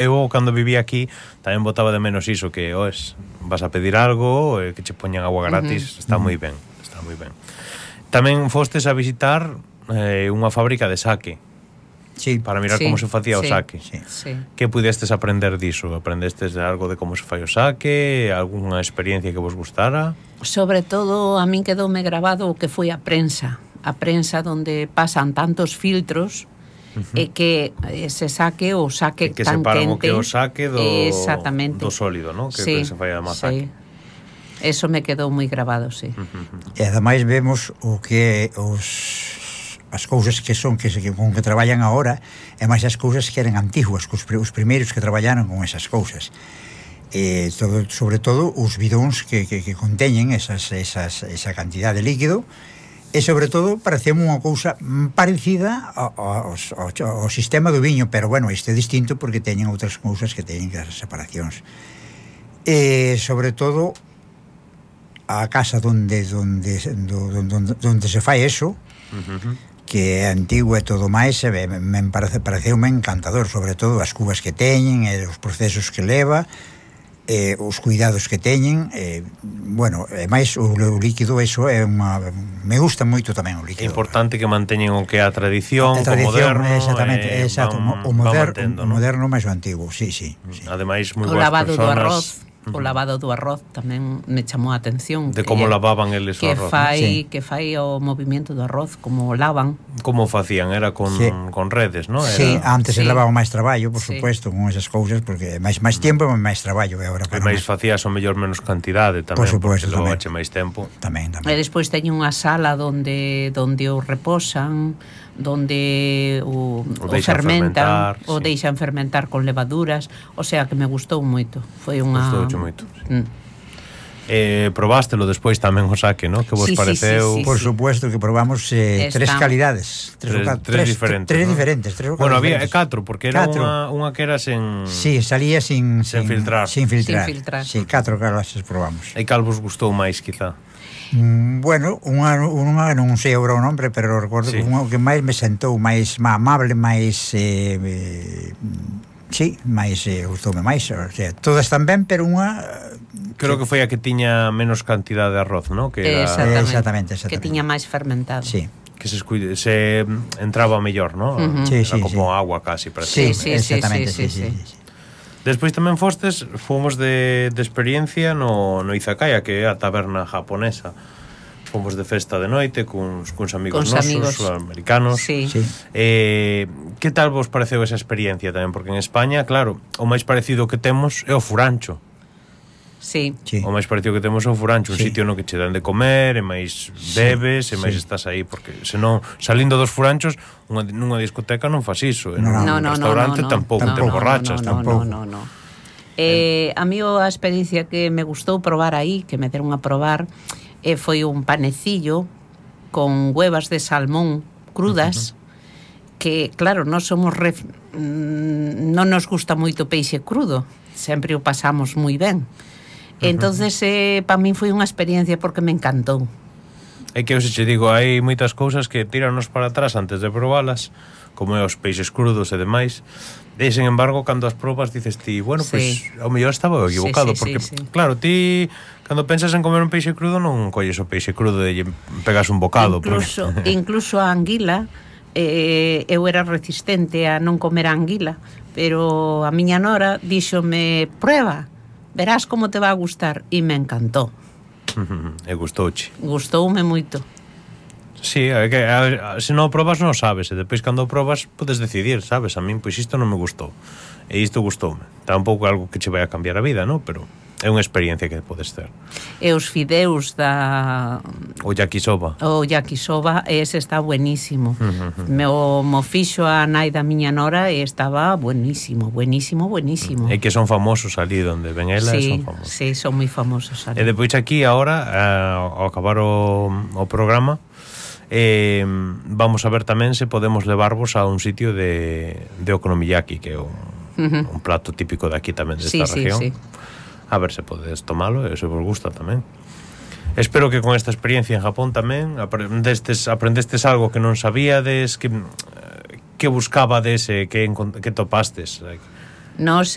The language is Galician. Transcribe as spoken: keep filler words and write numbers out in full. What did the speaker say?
eu cando vivía aquí tamén botaba de menos iso, que oes, vas a pedir algo, eh, que che poñan agua gratis, uh-huh. está moi ben, está moi ben. Tamén fostes a visitar eh, unha fábrica de saque. Sí, para mirar sí, como se facía sí, o saque. Sí. Sí. Que pudestes aprender diso? Aprendestes algo de como se fai o saque? Algunha experiencia que vos gustara? Sobre todo, a min quedoume grabado o que foi a prensa. A prensa donde pasan tantos filtros uh-huh. e que se saque o saque que tan separan quente. O que o saque do, exactamente. do sólido, ¿no? Que, sí, que se fai a sí. masaque. Eso me quedou moi grabado, sí. Uh-huh. E ademais vemos o que os as cousas que son que, que con que traballan agora e máis as cousas que eran antiguas, os, os primeiros que traballaron con esas cousas. E todo, sobre todo os bidóns que, que, que conteñen esas, esas, esa cantidad de líquido, e sobre todo parecemos unha cousa parecida ao, ao, ao, ao sistema do viño, pero bueno, este é distinto porque teñen outras cousas que teñen as separacións. E sobre todo a casa donde donde donde, donde se fai eso, uh-huh. que é antigo e todo máis, e me, me parece, pareceume encantador, sobre todo as cubas que teñen, e os procesos que leva, e os cuidados que teñen, e, bueno, e máis o, o líquido, eso é unha... me gusta moito tamén o líquido. É importante que manteñen o que é a tradición, a tradición, o moderno, exactamente, eh, exacto, van, o, moder, mantendo, o moderno máis o antigo, sí, sí, sí. Ademais, moi o boas lavado personas. do arroz. O lavado do arroz tamén me chamou a atención. De como que, lavaban eles o que arroz. Fai, sí. Que fai o movimento do arroz, como o lavan. Como facían? Era con, sí. con redes, non? Sí, Era... antes sí. se lavaba máis traballo, por sí. supuesto, con esas cousas, porque máis máis tempo e máis traballo. E agora e máis facías o mellor menos cantidade tamén, por supuesto, porque levache máis tempo. Tamén, tamén. E despois teño unha sala donde donde o reposan, donde o, o, o fermentan, o sí. deixan fermentar con levaduras, o sea que me gustou moito. Foi unha... Gustouche moito. Sí. Mm. Eh, probástelo despois tamén o saque, ¿no? Que vos sí, pareceu? Sí, sí, sí, por sí. supuesto que probamos eh, tres calidades, tres, tres, tres diferentes, tres, tres ¿no? diferentes, tres bueno, había diferentes. catro, porque era catro. Unha, unha que era sen sí, salía sin, sin, sin filtrar, sin filtrar, sin filtrar. sí, catro clases probamos. E cal vos gustou máis, quizá? Mm, bueno, unha, unha non sei agora o nombre, pero recordo sí. que unha que máis me sentou máis amable, máis eh, eh, sí, máis eh, gustoume máis, o sea, todas están ben, pero unha creo que foi a que tiña menos cantidade de arroz, ¿no? Que era... exactamente. Exactamente, exactamente. Que tiña máis fermentado. Sí. Que se, escuide, se entraba mellor, ¿no? Uh-huh. Sí, era sí, como sí. agua casi, sí, sí, exactamente, sí, sí, sí, sí, sí, sí. Despois tamén fostes, fomos de, de experiencia no, no Izakaya, que é a taberna japonesa. Fomos de festa de noite cuns, cuns amigos Cuns nosos, amigos. americanos. Sí. Sí. Eh, que tal vos pareceu esa experiencia tamén? Porque en España, claro, o máis parecido que temos é o furancho. Sí. Sí. O máis parecido que temos é o furancho, un sí. sitio no que che dan de comer, e máis bebes, e máis sí. estás aí, porque senón, salindo dos furanchos, unha, nunha discoteca non fas iso, en no, un no, no, restaurante no, no, tampouco no, te no, emborrachas, no, no, tampouco. No, no, no. Eh, a mí a experiencia que me gustou probar aí, que me deron a probar, eh, foi un panecillo con huevas de salmón crudas, uh-huh. que, claro, non somos ref... non nos gusta moito peixe crudo, sempre o pasamos moi ben. Entonces, eh, para min foi unha experiencia porque me encantou. É que eu se che digo, hai moitas cousas que tiranos para atrás antes de probalas, como é os peixes crudos e demais. E, sen embargo, cando as probas dices ti, bueno, pois, sí. ao mellor estaba equivocado, sí, sí, porque, sí, sí. claro, ti, cando pensas en comer un peixe crudo, non colles o peixe crudo e pegas un bocado. Incluso, porque... incluso a anguila, eh, eu era resistente a non comer a anguila, pero a miña nora díxome, prueba, verás como te va a gustar, e me encantou. E gustouche. Gustoume moito. Sí, é que a, a, se non o probas non sabes, e depois cando o probas podes decidir, sabes, a min pois isto non me gustou e isto gustoume. Tampouco é algo que che vai a cambiar a vida, non? Pero é unha experiencia que podes ter. E os fideus da... O yakisoba. O yakisoba, ese está buenísimo. me o mo fixo a nai da miña nora e estaba buenísimo, buenísimo, buenísimo. É que son famosos ali onde ven ela, sí, son famosos. Sí, son moi famosos ali. E depois aquí, agora, ao acabar o, o programa, eh, vamos a ver tamén se podemos levarvos a un sitio de, de okonomiyaki, que é un, uh-huh. un plato típico de aquí tamén, desta sí, región. Sí, sí. A ver se podes tomalo e se vos gusta tamén. Espero que con esta experiencia en Japón tamén aprendestes, aprendestes algo que non sabíades, que, que buscabades, que, que topastes. Nos